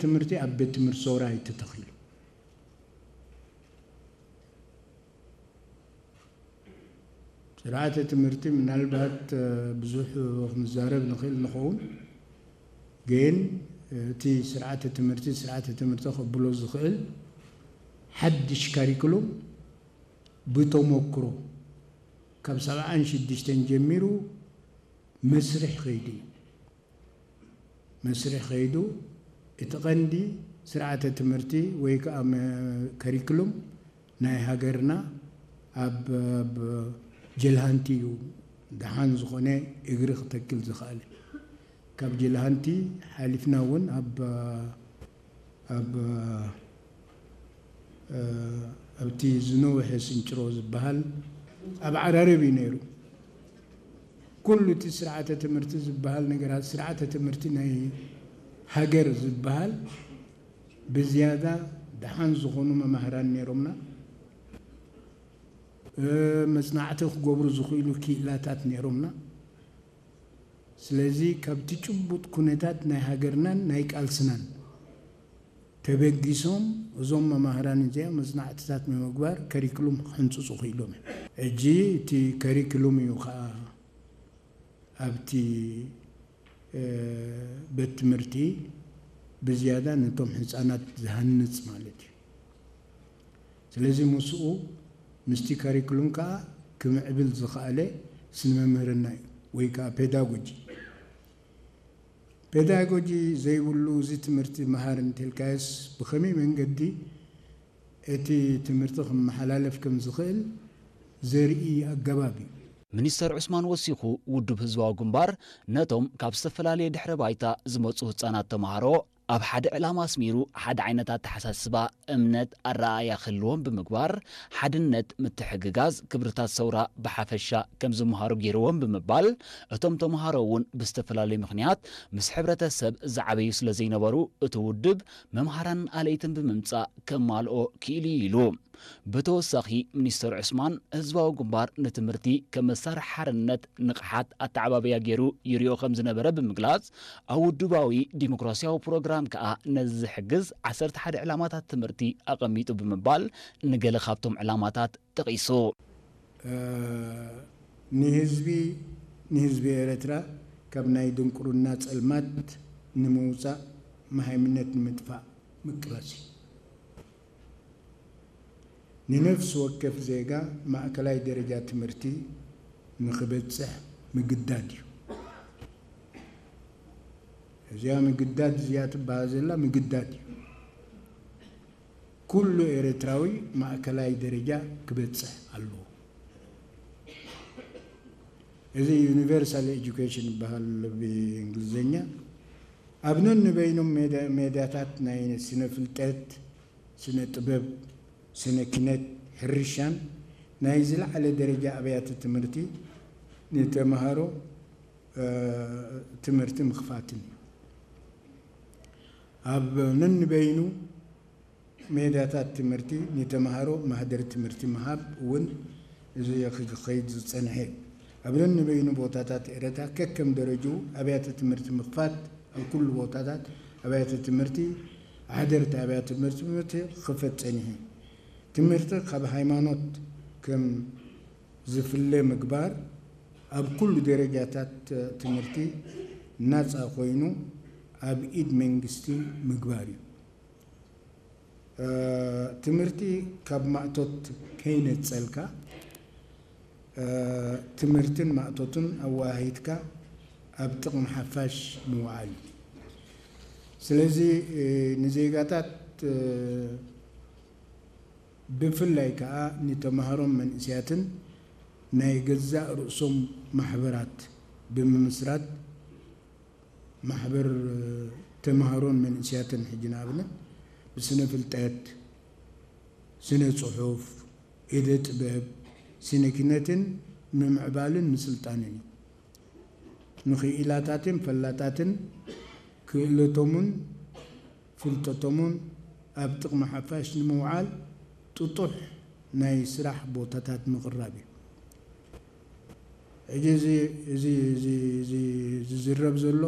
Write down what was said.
ትምህርቲ ኣብ ቤት ትምህርቲ ሰውራ ኣይተተኺሉ። ስርዓተ ትምህርቲ ምናልባት ብዙሕ ክንዛረብ ንኽእል ንኸውን፣ ግን እቲ ስርዓተ ትምህርቲ ስርዓተ ትምህርቲ ከብሎ ዝኽእል ሓድሽ ካሪክሉም ብተሞክሮ ካብ ሰብዓን ሽዱሽተን ጀሚሩ መስርሕ ከይዱ እዩ። መስርሕ ከይዱ እቲ ቀንዲ ስርዓተ ትምህርቲ ወይ ከዓ ከሪክሉም ናይ ሃገርና ኣብ ጀልሃንቲ እዩ ደሓን ዝኾነ እግሪ ክተክል ዝኽኣለ። ካብ ጀልሃንቲ ሓሊፍና እውን ኣብ ኣብቲ ዝነውሐ ስንጭሮ ዝበሃል ኣብ ዓራርብ እዩ ነይሩ። ኩሉ እቲ ስርዓተ ትምህርቲ ዝበሃል ነገራት፣ ስርዓተ ትምህርቲ ናይ ሃገር ዝበሃል ብዝያዳ ደሓን ዝኾኑ መማህራን ነይሮምና። መፅናዕቲ ክገብሩ ዝኽእሉ ክኢላታት ነይሮምና። ስለዚ ካብቲ ጭቡጥ ኩነታት ናይ ሃገርናን ናይ ቃልስናን ተበጊሶም እዞም መማህራን እዚኣ መፅናዕትታት ንምግባር ከሪክሉም ክሕንፅፁ ክኢሎም እዮም። ሕጂ እቲ ከሪክሉም እዩ ከዓ ኣብቲ ቤት ትምህርቲ ብዝያዳ ነቶም ህፃናት ዝሃንፅ ማለት እዩ። ስለዚ ምስኡ ምስቲ ካሪክሉም ከዓ ክምዕብል ዝኸኣለ ስነ መምህርና እዩ ወይ ከዓ ፔዳጎጂ። ፔዳጎጂ ዘይብሉ እዚ ትምህርቲ መሃር እንተልካዮስ ብኸመይ መንገዲ እቲ ትምህርቲ ክመሓላለፍ ከም ዝኽእል ዘርኢ ኣገባብ እዩ። ሚኒስተር ዑስማን ወሲኹ ውድብ ህዝባዊ ግንባር ነቶም ካብ ዝተፈላለየ ድሕረ ባይታ ዝመፁ ህፃናት ተምሃሮ ኣብ ሓደ ዕላማ ኣስሚሩ ሓደ ዓይነት ኣተሓሳስባ፣ እምነት፣ ኣረኣእያ ክህልዎም ብምግባር ሓድነት፣ ምትሕግጋዝ፣ ክብርታት ሰውራ ብሓፈሻ ከም ዝምሃሩ ገይርዎም ብምባል እቶም ተምሃሮ እውን ብዝተፈላለዩ ምኽንያት ምስ ሕብረተሰብ ዝዓበዩ ስለዘይነበሩ እቲ ውድብ መምሃራንን ኣለይትን ብምምፃእ ከማልኦ ክኢሉ እዩ ኢሉ። ብተወሳኺ ሚኒስተር ዑስማን ህዝባዊ ግንባር ንትምህርቲ ከም መሳርሒ ሓርነት ንቕሓት ኣተዓባብያ ገይሩ ይሪኦ ከም ዝነበረ ብምግላፅ ኣብ ውድባዊ ዲሞክራሲያዊ ፕሮግራም ከዓ ነዚ ዝሕግዝ ዓሰርተ ሓደ ዕላማታት ትምህርቲ ኣቐሚጡ ብምባል ንገለ ካብቶም ዕላማታት ጠቒሱ። ንህዝቢ ንህዝቢ ኤረትራ ካብ ናይ ድንቁርና ጸልማት ንምውጻእ መሃይምነት ንምጥፋእ ምቅላስ እዩ። ንነፍሲ ወከፍ ዜጋ ማእከላይ ደረጃ ትምህርቲ ንኽበጽሕ ምግዳድ እዩ። እዚኣ ምግዳድ እዚኣ ትበሃል ዘላ ምግዳድ እዩ። ኩሉ ኤርትራዊ ማእከላይ ደረጃ ክበጽሕ ኣለዎ። እዚ ዩኒቨርሳል ኤጁኬሽን ይበሃል ብእንግሊዝኛ። ኣብ ነንበይኖም ሜዳ- ሜዳታት ናይ ስነ ፍልጠት፣ ስነ ጥበብ፣ ስነ ኪነት፣ ሕርሻን ናይ ዝለዓለ ደረጃ ኣብያተ ትምህርቲ ንተምሃሮ ትምህርቲ ምኽፋትን እዩ። ኣብ ነንበይኑ ሜዳታት ትምህርቲ ንተምሃሮ ማህደር ትምህርቲ ምሃብ እውን እዚ ክኸይድ ዝጸንሐ እዩ። ኣብ ነንበይኑ ቦታታት ኤረታ ከከም ደረጅኡ ኣብያተ ትምህርቲ ምኽፋት ኣብ ኩሉ ቦታታት ኣብያተ ትምህርቲ ሓደርቲ ኣብያተ ትምህርቲ ክኸፈት ጸኒሑ እዩ። ትምህርቲ ካብ ሃይማኖት ከም ዝፍለ ምግባር ኣብ ኩሉ ደረጃታት ትምህርቲ ናጻ ኮይኑ ኣብ ኢድ መንግስቲ ምግባር እዩ። ትምህርቲ ካብ ማእቶት ከይነጸልካ ትምህርትን ማእቶትን ኣወሃሂድካ ኣብ ጥቕሚ ሓፋሽ ምውዓል እዩ። ስለዚ ንዜጋታት ብፍላይ ከኣ ንተምሃሮን መንእስያትን ናይ ገዛእ ርእሶም ማሕበራት ብምምስራት ማሕበር ተምሃሮን መንእስያትን ሕጂ ንኣብነት ብስነ ፍልጠት፣ ስነ ጽሑፍ፣ ኢደ ጥበብ፣ ስነ ኪነትን ምምዕባልን ምስልጣንን እዩ። ንኽኢላታትን ፈላጣትን ክእለቶምን ፍልጠቶምን ኣብ ጥቕሚ ሓፋሽ ንምውዓል ጥጡሕ ናይ ስራሕ ቦታታት ምቕራብ እዩ። ሕጂ እዚ እዚ እዚ እዚ ዝዝረብ ዘሎ